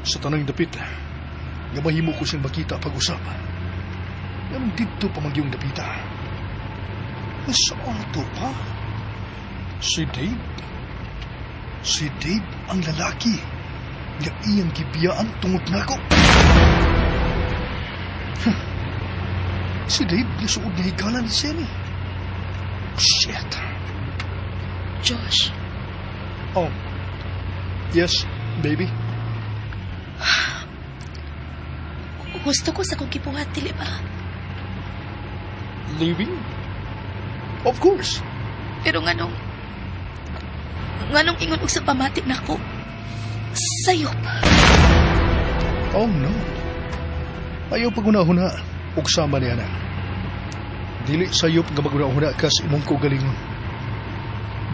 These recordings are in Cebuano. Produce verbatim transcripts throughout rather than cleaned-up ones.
Sa tanang dapit, nga mahimo ko siyang makita pag-usap. Nganong didto pa man gyung dapita. Sa ato pa? Si Dave? Si Dave ang lalaki nga iyang gibiyaan tungod nako. Huh. Si Dave nisuod nga higala ni Semi. Shit. Josh, Oh. Yes, baby? Gusto ko sa akong gibuhat, dili ba? Leaving? Of course. Pero nganong... Nganong ingon og sa pamati nako? Sayop. Oh, no. Ayaw paghuna-huna. Ugsama niya na. Dili sayop nga maghuna-huna ka sa imong kaugalingon.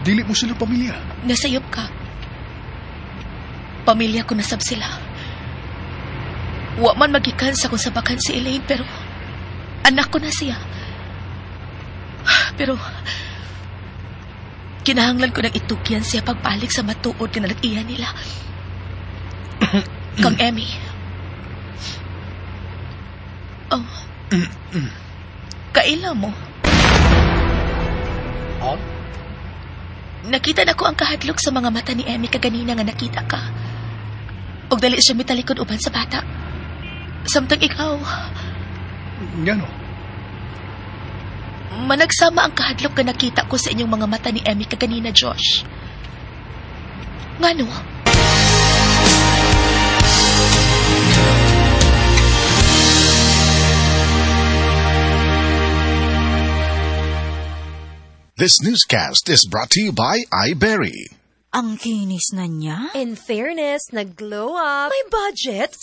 Dili mo sila pamilya. Nasayop ka. Pamilya ko nasab sila. Wa man magikan sa kung sabakan si Elaine, pero anak ko na siya. Pero kinahanglan ko nang itugyan siya pagbalik sa matuod nga nalag-iya nila. Kang Emmy. Oh. Kaila mo. Ha? Nakita na ko ang kahadlok sa mga mata ni Emmy kaganina nga nakita ka. Og dali siya mitalikod uban sa bata. Samtang ikaw, Ngano? Managsama ang kahadlok nga nakita ko sa inyong mga mata ni Emmy kaganina, Josh. Ngano? This newscast is brought to you by iBerry. Ang kinis na niya. In fairness, nag-glow up. May budget.